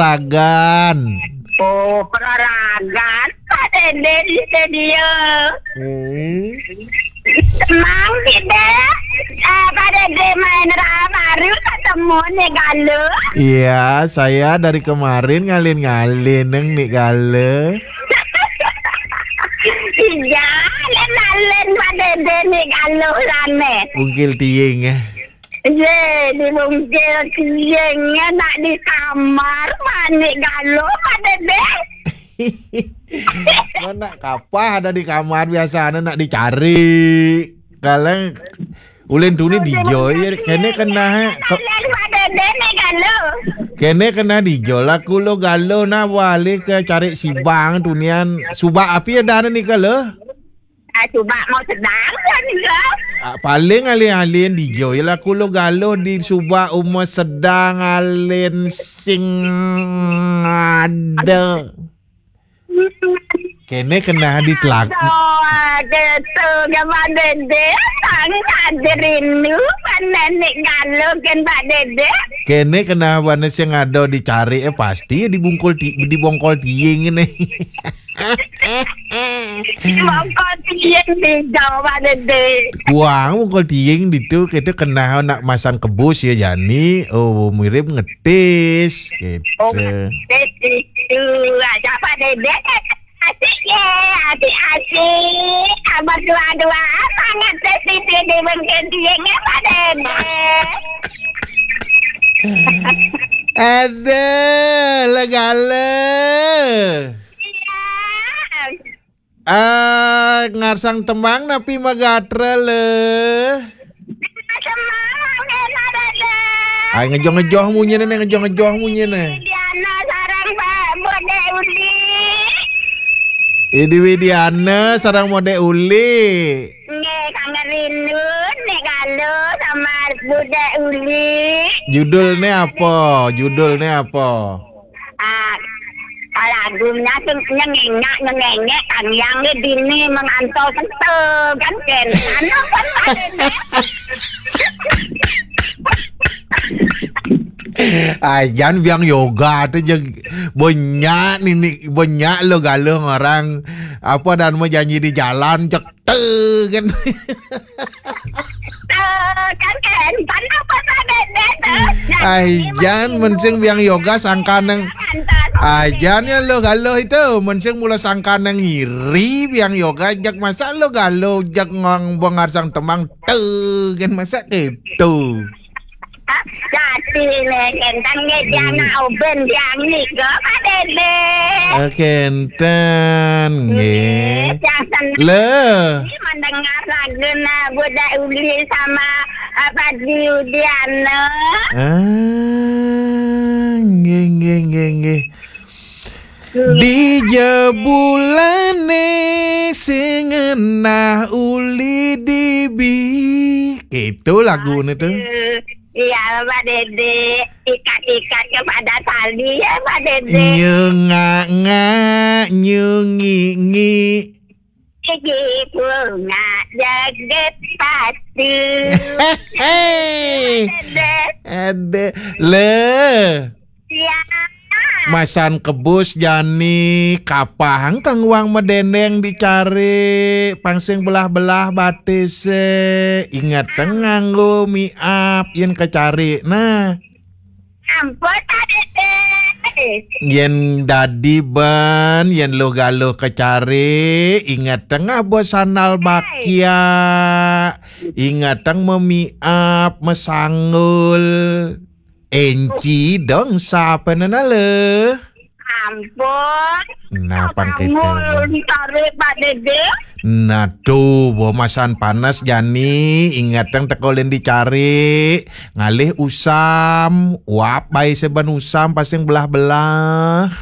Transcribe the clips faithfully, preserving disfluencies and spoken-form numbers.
Ragan. Oh, peraragan. Pak Dede di studio. Hmm. Senang kita. Ah, Pak Dede main ra-, baru ketemu nih Galuh. Iya, saya dari kemarin ngalin-ngalin neng nih Galuh. Iya, ngalin-ngalin Pak Dede nih Galuh rame. Ungkil tiing ya. Ye, di bungkil tiing, nak di kamar, manik Galuh, Pak Dede. Mana kapah ada di kamar, biasanya nak dicari. Kalau ulin tuni dijo, ya, kene kena, eh, ke- Pak Dede nih Galuh. Kene kena dijo, laku lo Galuh, nah, wali ke cari sibang, tunian, subak api ada nih kalau. Ah, coba mau sedang kan, Galuh? Ah, paling alin-alin dijo, ya lah kulo Galuh di subak uma sedang alin sing ada. Kene kena di telak. Aduh, gitu, Pak Dede. Tang tak rindu, kan nenek Galuh, kan Pak Dede. Kene kena bana sing ada dicari, eh, pasti dibungkul ti-, dibongkol tiing ini. Bongkol tiing di Jawa, Dede. Kuang bongkol tiing ditu, kita kena nak masang kebus ya, Jani. Oh, mirip ngetis, gitu. Oh, ngetis itu. Aja, Pak Dede. Asik ya, asik-asik. Abah dua-dua, sangat tes itu di bongkol tiing ya, Pak Dede. Ada, legala. Iya. Ah, ngarsang temang napi magatra le? Temang, Mang Dena, Dede. Ai, ngejoh-ngejoh munyine, ngejoh-ngejoh munyine. Diana sareng Pak Bude Uli. Idi Widiana sareng Mode Uli. Nggih, kangen rindu, nek Galuh sama Bude Uli. Judulnya apa? Judulnya apa? Ah, lagunya sing nyengengak, nyengengek, Kang Yang le dini mengantol kentel, kan ken. Anu kan Pak Dede. Ajan biang yoga tu je banyak nini, banyak lo Galuh orang apa dan mau janji di jalan, cek tu kan. Eh, kan ken, kan apa Pak Dede tu? Ajan mensing biang yoga sangka nang. Ajan ya lo Galuh itu, mensing mula sangka nang iri biang yoga, jak masa lo Galuh, jak ngong bongar sang temang tu kan, masa gitu. Jati le, kenten nggih, Diana Oben, Diani, go, Pak Dede. Eh, kenten, nggih. Nggih, yang senang. Le. Ini mendengar lagu na Bude Uli sama, eh, Pak Diana. Ah, nggih, nggih, nggih, nggih. Di jebulane sing ngenah uli dibi. Itu lagune tu. Aduh. Iya, Pak Dede. Ikat-ikat kepada tali ya, Pak Dede. Nyengak-ngak, nyungi-ngi. Iki bunga jaget pati. Hei. Dede. Ada. Le. Iya. Masan kebus jani, kapahang kang wang medendeng dicari, pangsing belah-belah batis, eh, inget nganggo miap yen kecari. Nah. Ampun, Pak Dede. Yen dadi ben, yen lo Galuh kecari, inget tengah bos sandal bakia, inget teng memiap, mesanggul. Enci dong, sapa nena le? Ampun. Nah, pang kita. Ngul dicari, Pak Dede. Nah, tuh, bo masan panas jani, inget yang tekolin dicari, ngalih usam, wap bae seben usam, pasing belah-belah.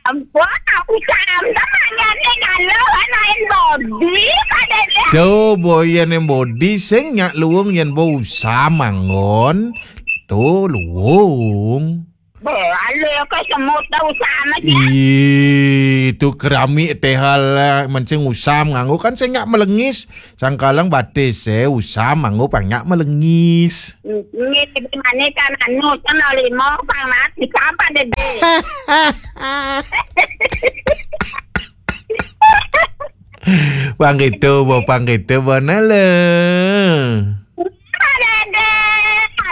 Ampun, aku cam temannya nih kalau main body, Pak Dede. Tuh, bo yen yang body, sing nyak luung yen bo usam, anggon. Tuh, luung. Beh, alé ka semut dah usam aja. Ih, tu keramik tehal lah. Mencing usam nganggo kan sing nyak melengis. Sangkalang batis, eh, usam nganggo pang nyak melengis. Ini di mana kan anu, kan limo, pang mati, apa dede? Pang gitu, bo, pang gitu, bo, nala. Pak Dede,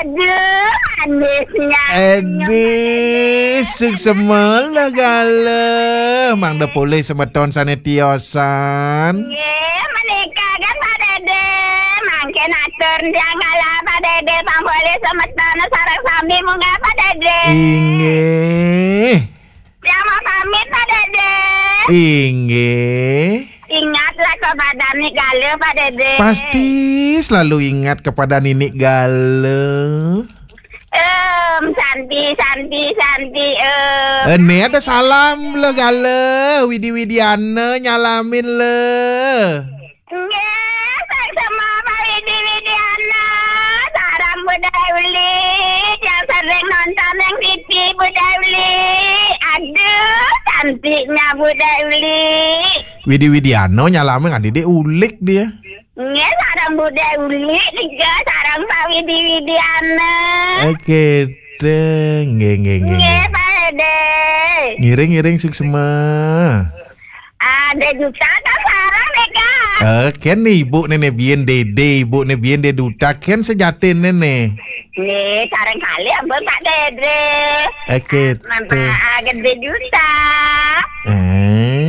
aduh, manisnya. Edih, suksema lah gala. Mangda polih semeton sané tiosan. Nggih, menika kan Pak Dede. Mangkin atur tiang kala Pak Dede, pang polih semeton sareng sami munggah Pak Dede. Inggih. Tiang mau pamit Pak Dede. Inggih. Ingatlah kepada Nik Gale, Pak Dede. Pasti selalu ingat kepada Ninik Gale. Em, Santi, Santi, Santi, em. Eh, nih ada salam le Gale, Widi Widiana nyalamin le. Nggih, saksama Pak Widi Widiana, sareng Budai Uli, yang sering nonton yang T V Budai Uli. Aduh, cantiknya Budai Uli. Widi Widiana nyalamin, nggak didik ulik dia. Nggih, sareng Budai Uli juga, sareng Pak Widi Widiana. Oke, deh, nggih, nggih, nggih, Nggih, nggih. Pak Dede. Ngiring, ngiring, suksema. Ada juta kan sareng nih, Kak? Eh, kan nih ibu nenek bien dede, ibu nenek bien dede duta, kan sejati nenek. Nih, sareng kali ampun Pak Dede. Oke, Mama, teh. Ah, gede juta. Eh,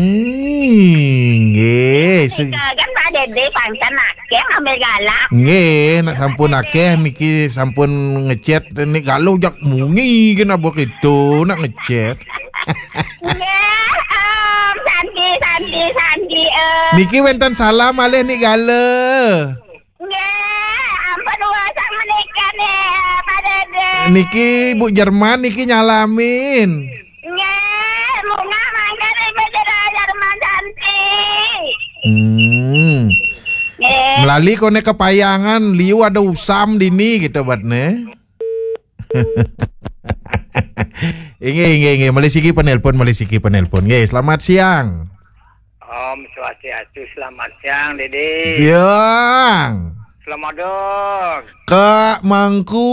nggih. Nika kan Pak Dede pangsan akeh ngambil galak. Nggih, nak sampun akeh niki sampun ngechat nih kalau jak mungi kena bok itu nak ngechat. Nggih, em, Santi, Santi, Santi, em. Niki wenten salam alih nih gala. Nggih, ampun urusan menika nih, Pak Dede. Niki Bu Jerman niki nyalamin. Nggih, munggah mangkin Ibu Jero Jerman Santi. Hmm. Nggih. Melali kone kepayangan, liu ada usam dini gitu buat ne. Inggih, inggih, inggih. Malih siki penelpon, malih siki penelpon. Nggih, selamat siang. Om Swastiastu, selamat siang, Dede. Siang. Selamat dong. Kak Mangku.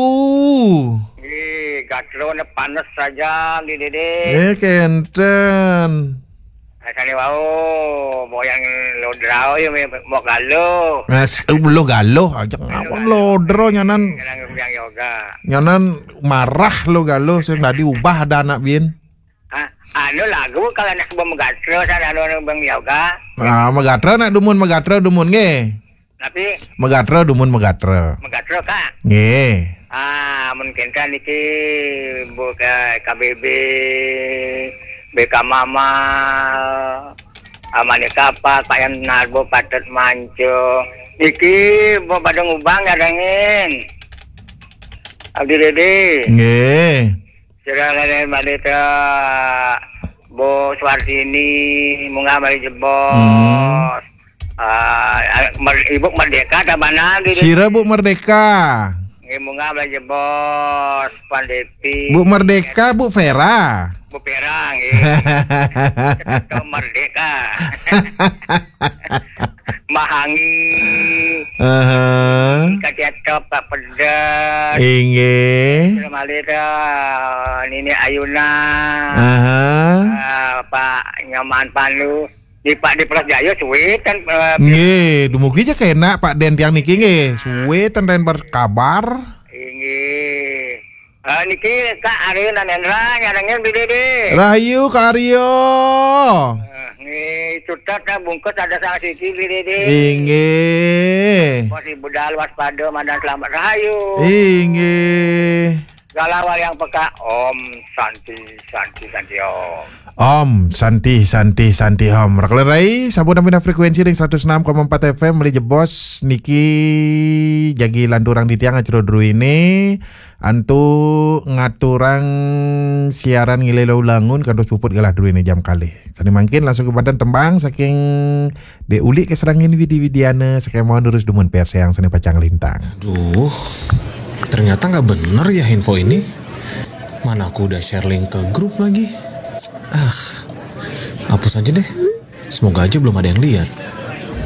Nggih, gatrone panes saja, nggih, Dede. Eh, kenten. Rasane wau, moyang lodrao ya, me-, mau galuh. Mas, um, lo galuh aja ngawon lodro nyanan. Nyanan yang yoga. Nyanan marah lo galuh, sing tadi ubah ada anak bin. Ah, anu lagu kalau anak sebab megatro, sana anu, anu Bang Yoga. Nah, megatro nak dumun, megatro dumun nggih. Tapi megatro dumun, megatro. Megatro, Kak. Nggih. Ah, mungkin kan niki Bu K-, K B B, B K Mama, Amane Kapak, Pak Yan Narbo, Patet Manco. Niki Bu Badung Ubang ngadengin. Abdi Dede. Nggih. Sira lene malih teh Bu Suartini, munggah malih jebos. Hmm. Ah, Mer-, Ibu Merdeka ta mana gitu? Sira Bu Merdeka. Nggih, munggah malih jebos, Pan Depi. Bu Merdeka, Bu Vera. Bu Vera, nggih. Tetep Merdeka. Mahangi. Aha. Katiatop Pak Pedas. Inggih. Terus malih teh, Nini Ayuna. Aha. Ah, Pak Nyoman Pandu. Di Pak di Pras Jaya suwe ten, eh, nggih, dumugi aja kena Pak Den tiang niki nggih. Suwe ten den berkabar. Inggih. Eh, niki Kak Aryo Nanendra nyarengin Bli Dede. Rahayu Kak Aryo. Eh, nggih, cutet dah bungkus ada sang siki Bli Dede. Inggih. Bos Ibu Dal waspada mandan selamat rahayu. Inggih. Galawar yang peka, Om Santi, Santi, Santi, Om. Om Santi, Santi, Santi, Om. Raklerai, sampun namina frekuensi ring seratus enam koma empat F M, malih jebos niki jagi lanturang di tiang acara druene. Antuk ngaturang siaran ngilela ulangun kantos puput galah druene jam kalih. Sane mangkin langsung kemanten tembang saking Dek Ulik keserangin Widi Widiana, sakemawon durus dumun perseang sane pacang lintang. Duh, ternyata nggak bener ya info ini. Mana aku udah share link ke grup lagi. Ah, hapus aja deh. Semoga aja belum ada yang lihat.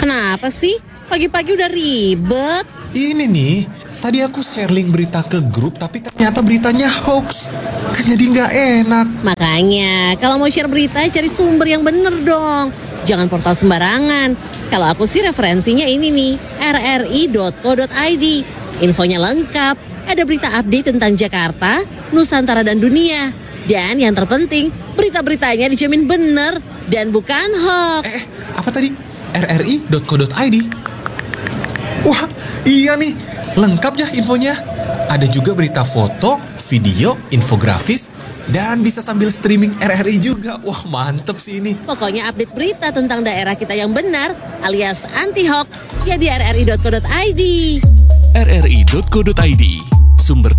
Kenapa sih? Pagi-pagi udah ribet. Ini nih, tadi aku share link berita ke grup tapi ternyata beritanya hoax. Kan jadi nggak enak. Makanya, kalau mau share berita, cari sumber yang bener dong. Jangan portal sembarangan. Kalau aku sih referensinya ini nih, rri.co.id. Infonya lengkap. Ada berita update tentang Jakarta, Nusantara dan dunia. Dan yang terpenting, berita-beritanya dijamin bener dan bukan hoax. Eh, apa tadi? rri.co.id. Wah, iya nih, lengkap ya infonya. Ada juga berita foto, video, infografis, dan bisa sambil streaming RRI juga. Wah, mantep sih ini. Pokoknya update berita tentang daerah kita yang benar alias anti hoax ya di rri.co.id. rri.co.id, sumber